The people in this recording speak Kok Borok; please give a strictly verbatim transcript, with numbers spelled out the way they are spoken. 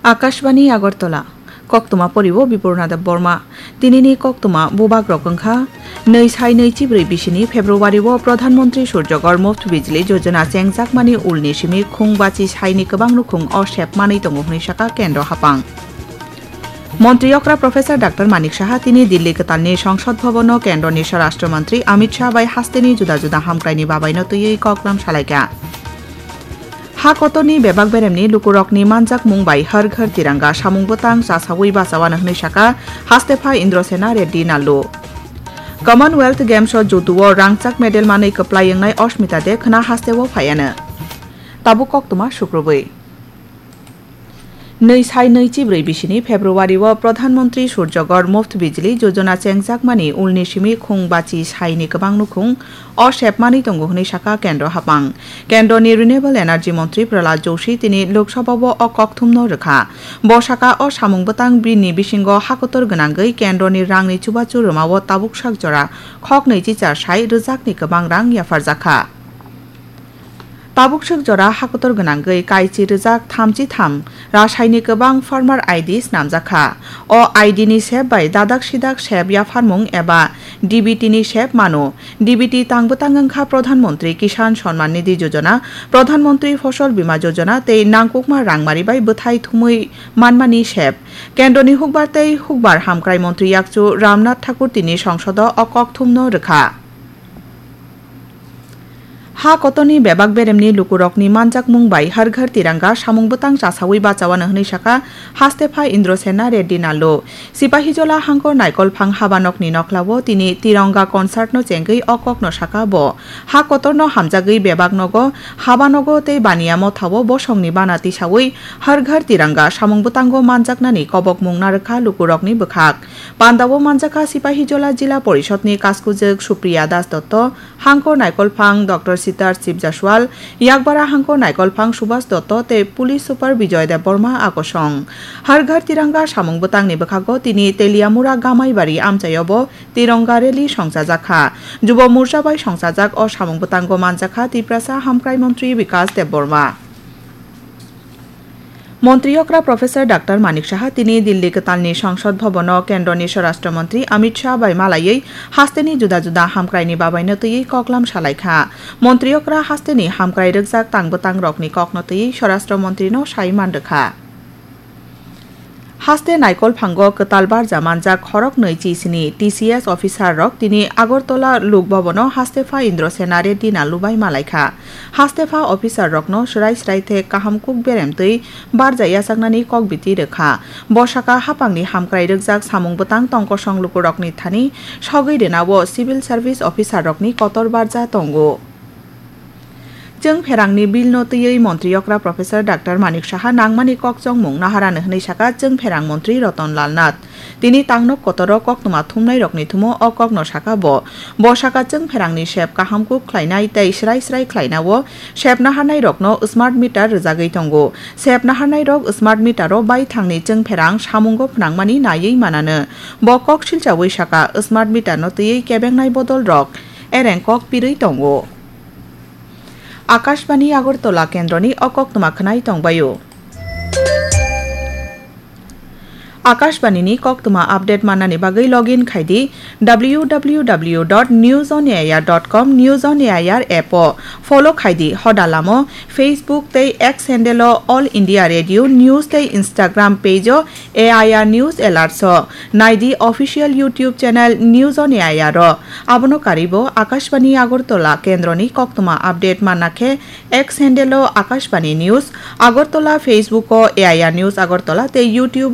Akashbani Agartala, koktwma poriwo Bipurna Debbarma. Tinini koktwma bubagrok wngkha, nwi sai nwi chibrwi bisini February o Pradhan Mantri Surjagor Muft Bijli Yojana chengjakmani ulni simi khung bachi saini kwbang nukhung o sep manwi tongo hwnwi sakha Kendro Haphang. Montri okra Professor Doctor Manik Saha tini Delhi kwtalni Songsod Bhabono Kendroni Swarashtra Mantri Amit Shah bai hasteni juda juda hamkraini babaino twiwi koklam salaikha. Ha kotorni bebak beremni lukurokni manjakmung bai Har Ghar Tiranga samung bwtang chasawi bachawano hwnwi sakha Hastepha Indrasena Reddy Nallu. Commonwealth Games o judo o rangchak medal manwi kwplai wngnai Ashmita De khwna hasteo phaiano. Tabuk koktwma sukrubwi. Nwi sai nwi chibrwi bisini February o Pradhan Mantri Surjagor Muft Bijli Yojana chengjakmani ulni simi khung bachi saini kwbang nukhung o sepmani tongo hwnwi sakha Kendro Haphang. Kendroni Renewable Energy Montri Prahlad Joshi tini Lok Sabha o o kokthumno rwkha. Bo sakha o samung bwtang bini bisingo hakotor gwnangwi Kendroni rangni chubachu rwmao tabuk sak jora khok nwichi char sai rwjakni kwbang rang yapharjakha. Tabuk swk jora hakotor gwnangwi kaichi rwjak thamchi tham rasaini kwbang farmer I D snamjakha. O I D ni sep bai dadak sidak sep yapharmung eba D B T ni sep mano. D B T tang bwtang wngkha Pradhan Mantri Kisan Samman Nidhi Yojana, Pradhan Mantri Fasal Bima Yojana tei nangkukma rangmari bai bwthai thumwi manmani sep. Kendroni hukbar tei hukbar hamkrai montri yakchu Ramnath Thakur tini songsodo o kokthumno rwkha. Ha kotorni bebak beremni lukurokni manjakmung bai Har Ghar Tiranga samung bwtang chasawi bachawano hwnwi sakha Hastepha Indrasena Reddy Nallu. Sipahijola Hangkor Naikolphang habanokni noklao tini Tiranga concert no chengwi o kokno sakha bo. Ha kotorno hamjagwi bebak nogo, habanogo tei baniya mothao bosongni bana tisawi Har Ghar Tiranga samung bwtango manjaknani kobokmung narwkha lukurokni bwkhak. Pandao manjakha Sipahijola Jila Porishodni kaskujwk Supriya Das Dotto, Hangkor Naikolphang Doctor Sitar Sibjaswal, Yakbara Hangkor Naikolphang Subhas Dotto tei Police Super Bijoy Debbarma akosong. Har Ghar Tiranga samung bwtangni bwkhago tini Teliamura Gamaibari amchaiobo Tiranga Rally songchajakha. Jubo Morcha bai songchajak o samung bwtango manjakha Tiprasa Hamkrai Montri Bikas Debbarma. Montri okra Professor Doctor Manik Saha tini Delhi kwtalni Songsod Bhabono Kendroni Swarashtra Montri Amit Shah bai malaiwi hasteni juda juda hamkraini babaino twiwi koklam salaikha. Montri okra hasteni hamkrai rwkjak tang bwtang rokni kokno twiwi Swarashtra Montrino sai manrwkha. Haste Naikolphango kwtal barja manjak khoroknwi chisini T C S officer rok tini Agartala Lok Bhabono Hastepha Indrasena Reddy Nallu bai malaikha. Hastepha officer rokno swrai swrai the kaham kuk berem twi barja yachaknani kok biti rwkha. Bo sakha haphangni hamkrai rwkjak samung bwtang tongkosong lukurokni thani sogwi rwnao civil service officer rokni kotor barja tongo. Chwng pherangni bill no twiwi montri okra Professor Doctor Manik Saha nangmani kok chongmung naharano hwnwi sakha chwng pherang montri Ratan Lal Nath. Tini tangnok kotoro koktwma thumnairokni thumo o kokno sakha bo. Bo sakha chwng pherangni sep kaham kuk khlainai tei srai srai khlainao sep naharnairokno smart meter rwjagwi tongo. Sep naharnairok smart metero baithangni chwng pherang samungo phnangmani naiwi manano. Bo kok silchawi sakha, smart meter no twiwi kebengnai bodolrok ereng kok pirwi tongo. Akashbani Agartala kendroni o koktwma khwnai tongbaio. Akashbani ni koktwma update mannani bagwi login khai di W W W dot news on A I R dot com, News on A I R app o follow khai di, hoda lamo Facebook tei X handle o All India Radio News tei Instagram page o A I R News Alerts o nai di, official YouTube channel News on A I R o. Abono karwi bo Akashbani Agartala kendroni koktwma update manna khe X handle o Akashbani News Agartala, Facebook o A I R News Agartala tei YouTube